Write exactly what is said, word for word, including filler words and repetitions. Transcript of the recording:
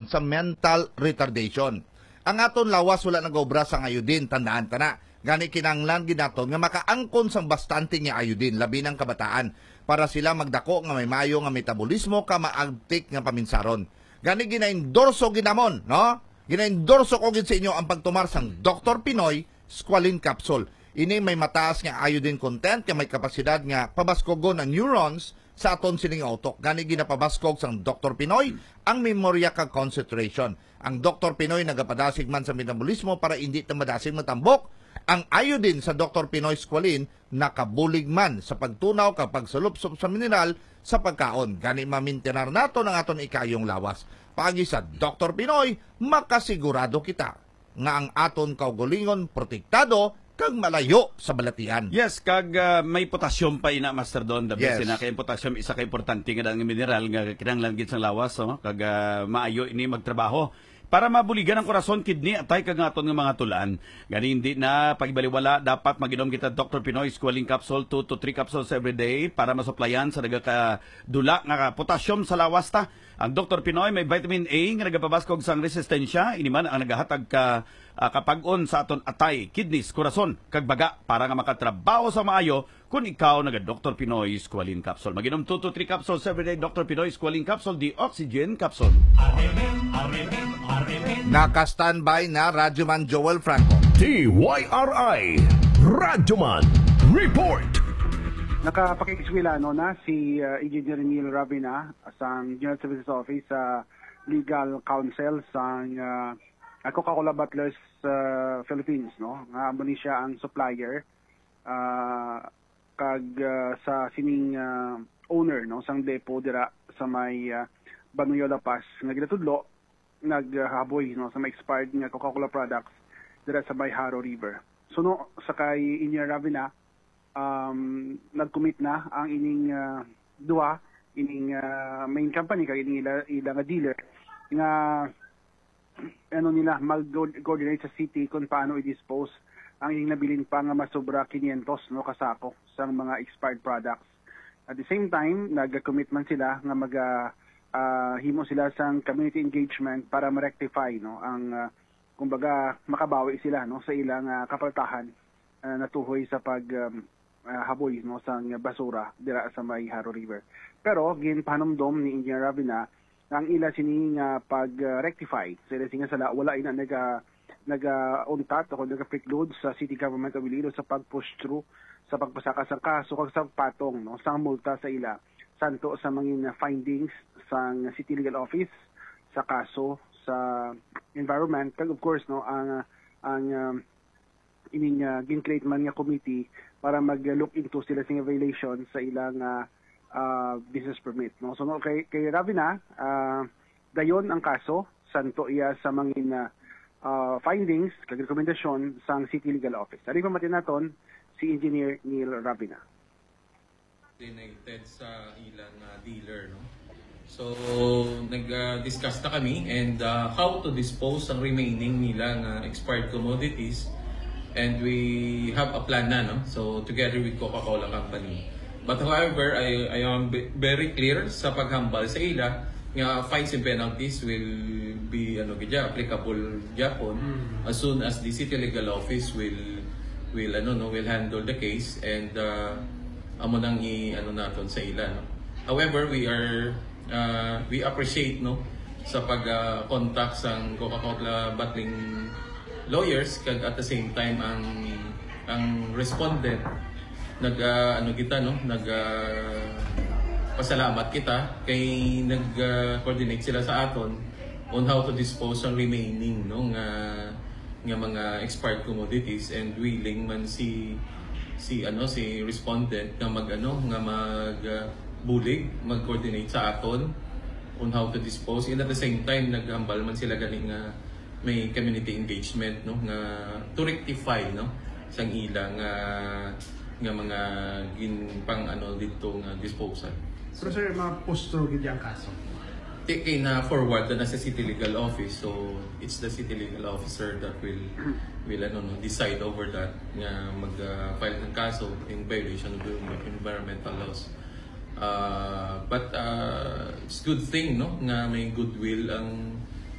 sa mental retardation. Ang aton lawas wala nag-obra sang iodine, tandaan ta na. Gani kinahanglan gid naton nga makaangkon sang bastante nga iodine, labi na ang kabataan, para sila magdako nga may maayo nga metabolismo kag maabtik nga paminsaron. Gani ginaendorso gid namon, no? Ginaendorso ko gid sa inyo ang pagtumar sang Doktor Pinoy Squalene Capsule. Ini may mataas nga iodine content nga may kapasidad nga pabaskogon ang neurons sa aton sining utok. Gani ginapabaskog sang Doktor Pinoy ang memorya kag concentration. Ang Doktor Pinoy nagapadasig man sa metabolismo para indi ta madasig matambok. Ang iodine sa Doktor Pinoy Squalene nakabulig man sa pagtunaw kag pagsalupsop sa mineral sa pagkaon. Gani mamintinar naton ang aton ikayong lawas. Paagi sa Doktor Pinoy, makasigurado kita nga ang aton kaugalingon protektado kag malayo sa balatian. Yes, kag, ah, may potassium pa ina, Master Don. The best Yes. ina kay ang potassium isa ka importante nga daan nga mineral nga kinahanglan gid sang lawas, no? Kag, ah, maayo ini magtrabaho para mabuligan ang korason, kidney, atay kag aton nga mga tulan. Gani hindi na pagbaliwala, dapat mag-inom kita Doktor Pinoy Squalene Capsule, two to three capsules every day para masuplayan sa nagakadula nga potassium sa lawas ta. Ang Doktor Pinoy may vitamin A nga nagapabaskog sang resistensya, ini man ang nagahatag ka, ah, kapag-on sa aton atay, kidneys, korason, kag baga para nga makatrabaho sa maayo. Kung ikaw naga Doktor Pinoy Squalene Capsule, mag-inom two to three capsules every day. Doktor Pinoy Squalene Capsule, the oxygen capsule. Naka-standby na Radyoman Joel Franco. D Y R I Radyoman Report. Nakapakig-eskwela, no, na si, uh, Engineer Neil Ravina sang General Services Office sa Legal Counsel sang, uh, Coca-Cola Bottlers, uh, Philippines, no, nga amo ni siya ang supplier, uh, kag, uh, sa sining, uh, owner, no, sang depo dira sa may, uh, Banuyo, La Paz, nga ginatudlo naghaboy, no, sa mga expired nga Coca-Cola products dira sa may Jaro River. So, no, sa kay Engineer Ravina, um, nag-commit na ang ining, ah, duha, ining, ah, main company kag ining ila, ila nga dealer nga, ano nila, mag-coordinate sa city kung paano i-dispose ang ining nabilin pa nga masobra quinientos, no, ka sako sang mga expired products. At the same time, nag-commit man sila nga mag, ah, ah, himo sila sang community engagement para ma-rectify, no, ang, ah, kumbaga, makabawi sila, no, sa ilang, ah, kapaltahan, ah, natuhoy sa pag, um, ah, haboy, no, sang basura dira sa may Jaro River. Pero ginpahanumdom ni Engineer Ravina nga ang ila sini nga pag, ah, rectify sa ila sini nga sala wala ina naga, naga-untat o naga-preclude sa City Government of Iloilo sa pag-push through sa pagpasaka sang kaso kag sa patong, no, sang multa sa ila, santo sa mangin findings sang City Legal Office sa kaso sa environment, kag of course, no, ang, ang, um, ining, uh, gin-create man nga committee para mag-look into sila sa violation sa ilang, uh, uh, business permit, no? So, no, kay, kay Ravina, uh, dayon ang kaso, santo iya sa mangin, uh, uh, findings kag rekomendasyon sang City Legal Office. Ari pa naton si Engineer Neil Ravina. Coordinated sa ilang, ah, dealer, no? So, nag-, ah, discuss na kami and, ah, how to dispose ang remaining nila nga expired commodities, and we have a plan na, no? So, together with Coca-Cola Company. But however, I, I am ve-, very clear sa paghambal sa ila nga fines and penalties will be, ano, gid, applicable gyapon Mm. as soon as the City Legal Office will, will, ano, no, will handle the case, and, uh, amo nang i-, ano naton sa ila, no. However, we are, uh, we appreciate, no, sa pag, uh, contact sang Coca-Cola bottling lawyers, kag at the same time ang, ang respondent nag, ah, ano kita, no? Nag, ah, pasalamat kita kay nag, ah, coordinate sila sa aton on how to dispose ang remaining, no, nga, nga mga expired commodities, and willing man si, si, ano, si respondent nga mag, ano, nga mag, ah, bulig, mag-coordinate sa aton on how to dispose. And at the same time, naghambal man sila gani nga may community engagement, no, nga to rectify, no, sang ila nga, nga mga gin-, pang, ano, dito nga disposal. Pero, sir, ma-push through gid ang kaso? Ti-, kay na-forward na sa City Legal Office, so it's the City Legal Officer that will, will, ano, no, decide over that, nga mag, ah, file ng kaso in violation of the environmental laws. Ah, but, ah, it's good thing, no, nga may goodwill ang